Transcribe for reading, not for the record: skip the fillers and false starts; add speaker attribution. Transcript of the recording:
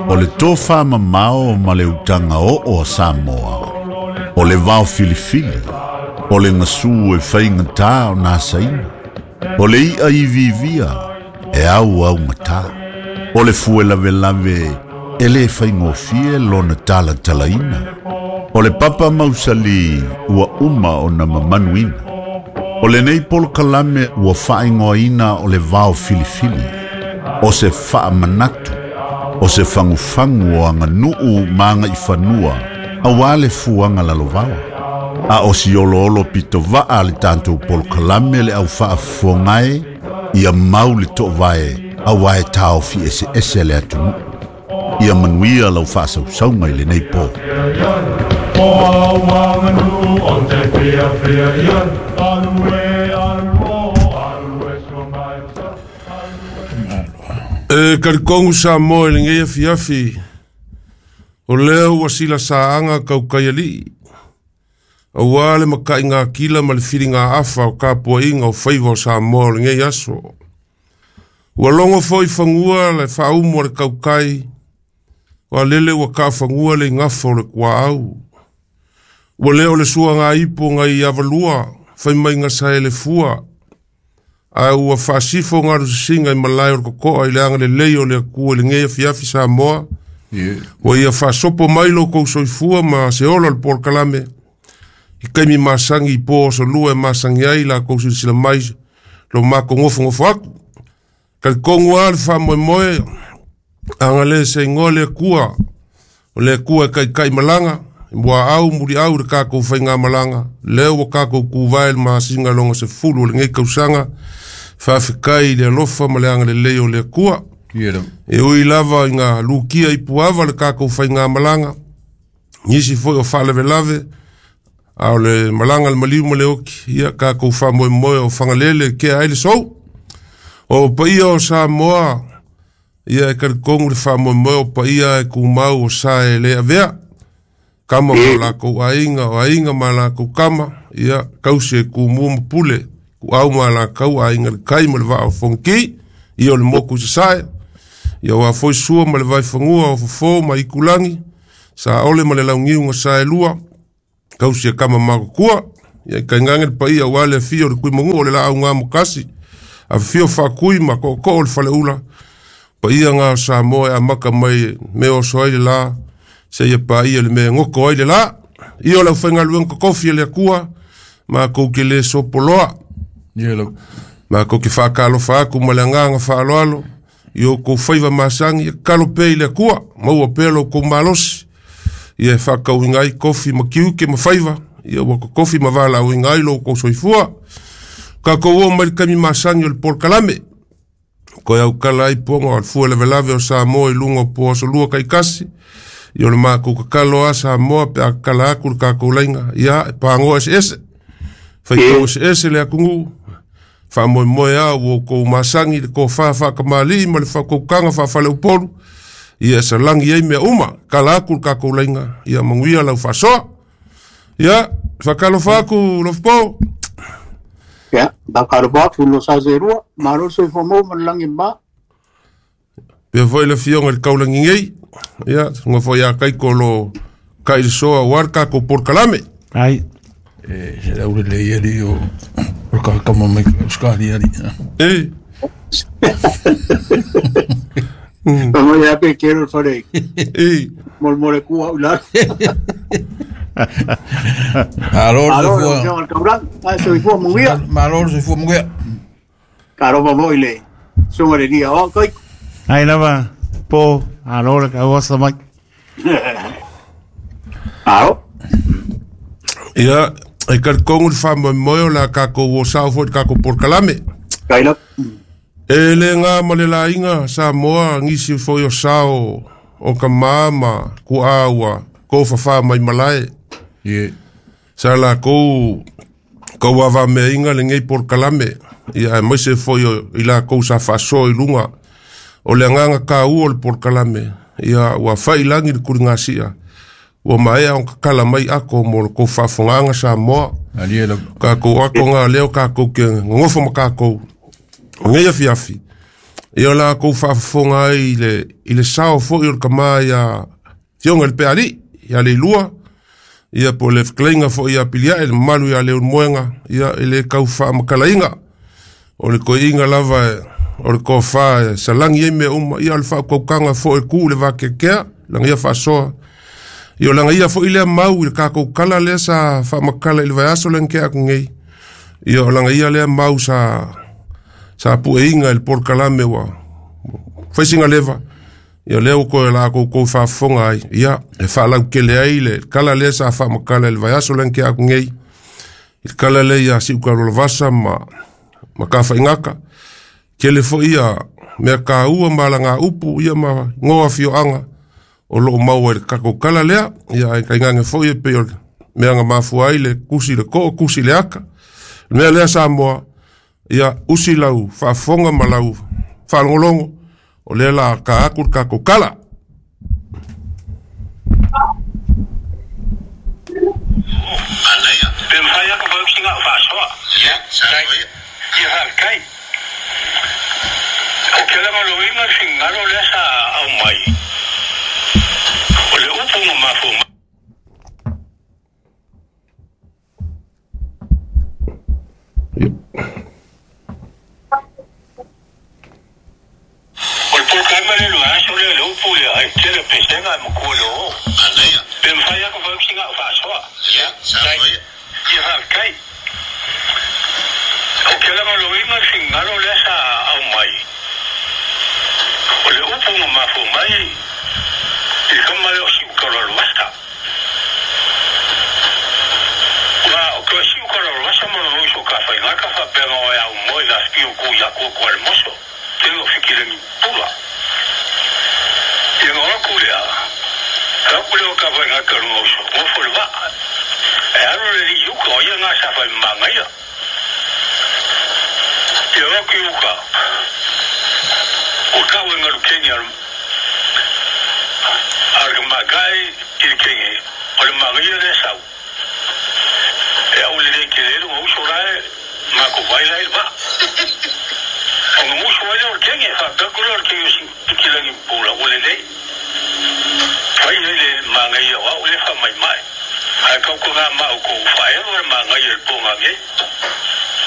Speaker 1: O le tofamamao ma le utaga oo a Samoa, o le vaofilifili, o le gasu e faigatā ona asaina, o le i'a iviivia e auaugatā, o le fue lavelave e lē faigofie lona talatalaina, o le papa mausali ua uma ona mamanuina. O lenei polokalame ua faaigoaina o le vaofilifili, o se faamanatu, o se fagufagu o aganuu ma agaifanua auā le fuaga lalovaoa. A o si oloolo pitovaa le tatou polokalame le au faafofogae ia mau le toovae auā e taofi eseese le atunuu. Ia manuia lau faasausauga i lenei po.
Speaker 2: E talitonu Samoa i lenei afiafi, o lea ua silasaaga taukaialii, auā le mataigatila ma le filigaafa o tapuaiga o faiva o Samoa o lenei aso. Ua logo foi fanua le faaumu a le tautai, o alele ua taafanua le igafa o le tuaau. Ua lē o le suagaipo nai avalua fai mai gasae le fua, ae ua faasifo galusisiga i malae o le totoa i le agalelei o le Atua i lenei afiafi Samoa. Ua ia faasopo mai lo kou soifua ma se ola o le polokalame i taimi masagi i po asolua e masagi ai lakou silasila mai lo matou nofonofo atu. Talitonu lava le faamoemoe agalē se igoa le Atua, o le Atua e taitai malaga i muaau muliau i le tatou faigamalaga lea ua tatou tuvae i le masina lona 10 o lenei tausaga. Faafetai i le alofa ma le agalelei o le Atua. E ui lava ina lukia i puava le tatou faigamalaga, nisi foi o faalavelave, a o le malaga le maliu ma le oki, ia tatou faamoemoe o Fagalele e tea ai le sou. O paia o Samoa, ia e talitonu le faamoemoe o paia e tumau o sa e le avea. Kama ma lakou aiga, o aiga ma lakou kama, ia tausi e tumua ma pule, kuau ma lakou aiga le kai ma le vaa o Fonoti, ia o le moku i sasae, ia ua foi sua ma le vaifanua o fofo ma ikulagi, saole ma le launiu na saelua, tausi e kama matutua, ia i tainane le paia aua le afio o le Tuimanu o le laau gamokasi, afifio faatui ma tootoo o le faleula, paia na o Samoa e amata mai me oso ai le la, seia paia le mea e goto ai le la. Ia o le aufaigaluega totofi a le Atua, matou te lē sopoloa, matou te faatalofa atu ma le agaga faaaloalo i outou faiva masagi. Ia tatalo pea i le Atua, maua pea lo outou malosi, ia e faatauina ai tofi ma tiute ma faiva, ia ua totofi ma valaauina ai lo outou soifua. Tatou oo mai le taimi masani o le polokalame, toe autala ai poga o le fua lavelave o Samoa i luga o po asolua taitasi. Ia o le matou tatalo a Samoa pe a tatala atu le tatou laiga, ia e pagoa eseese, faitau eseese le atunuu, faamoemoe a ua outou masagi le tofa faatamalii ma le faautautaga faafaleupolu, ia e salagi ai mea uma. Tala atu le tatou laiga, ia manuia lau faasoa. Ia faatalofa atu Lofopo.
Speaker 3: Ia, faatalofa atu lo sa zerua, malo le soifua maua ma le lagi e mama.
Speaker 2: Pea foi le afioga i le taulagi nei, ia susuga foi ia Kaiko o lo kai le soa aua le tatou polokalame.
Speaker 4: Ai.
Speaker 5: E se lau lelei alii o o le kama mai Australia alii.
Speaker 2: E.
Speaker 3: Mo ia pe kero le fale.
Speaker 2: E.
Speaker 3: Mo mo le kua au lalo.
Speaker 5: Malo le
Speaker 3: Malo le
Speaker 5: soifua.
Speaker 3: afioga i le taulagi. Ai soifua manuia.
Speaker 5: Malo le soifua manuia.
Speaker 3: Talofa foi le susuga i le alii aoao Kaiko.
Speaker 4: Ai lava po alo le kauasa mai.
Speaker 3: Alo.
Speaker 2: Ia, e talitonu le faamoemoe o le a tatou o sao foi i le tatou polokalame.
Speaker 3: Kaila.
Speaker 2: E le gā ma le laiga Samoa nisi foi o sao o tamā ma tuaa ua tofafā mai malae. Sa lakou tauavameaina lenei polokalame, ia aemaise foi o i lakou sa faasoa i luga o le agaga taua o le polokalame, ia ua failagi le tuligasia, ua maea ona tatala mai ato mo le tou faafofogaaga Samoa. Tatou ato gā lea o tatou te nonofo ma tatou o nei afiafi. Ia o la kou faafofoga ai i le sao fo'i o le kamā ia Fioga i le Peaali'i ia Leilua, ia po o le fetalaiga fo'i ia Pilia'e, le mamalu ia Leulumoega, ia e lē tau faamatalaina. O le toeaina lava o le tofa e salagi ai mea uma, ia o le faautautaga fo'i e tu'u le vakeakea laga ia faasoa. Ia o laga ia fo'i lea mau i le tatou tala lea sa faamatala i le vaiaso lea na tea atu nei. Ia o laga ia lea mau sa pueina i le polokalame ua faisiga leva. Ia lea ua toe la kou faafofoga ai, ia e faalautele ai le tala lea sa faamatala i le vaiaso lea na tea atu nei, i le tala lea ia Si'ukalualavasa ma Tafaigata. Tele fo'i ia mea taua ma alaga upu ia ma igoa afioaga o loo maua i le tatou tala lea. Ia ae tainane foi e pei o le mea na mafua ai le tusi le too tusi le aka. Le mea lea Samoa, ia usi lau faafofoga ma lau faalogologo, o lea la ka atu le tatou tala.
Speaker 6: Pe mafai lava ona fai sina au faasoa. Ia faafetai. Ou te lagolagoina le finagalo lea sa aumai, o le upu na mafua mai. O le polokalame lea i le vaiaso lea, le upu lea, e tele pesega e matua i le oo. Pe mafai lava ona fai atu sina au faasoa. Ia faafetai. Ou te lagolagoina le finagalo lea sa aumai, o le upu na mafua mai i le tama lea o Siutalaloasa. Ua toe Siutalaloasa ma lona uso Tafaigata faapea na oe aumoe i le afifio tu i Atua Tualemoso, tele o Fikilagi Pula. Ia na o atu lea, o atu lea o Tafaigata i lona uso, nofo i le vaa. E alu le alii i uka, o ia na sa fai manaia. Ia o atu i uka, ua tau e galu keni a le tamaitai i le keni, o le manaia lea e sau. E aulelei tele ai lona uso la e matou vai la i le vaa. Ona musu ai lea o le keni, e faapea atu lea o le keni o Sikilangi Pula ua lelei. Fai ai le manaia o au lea e faamaimai. Ae tautuana ma outou faaelu le manaia i le po nanei.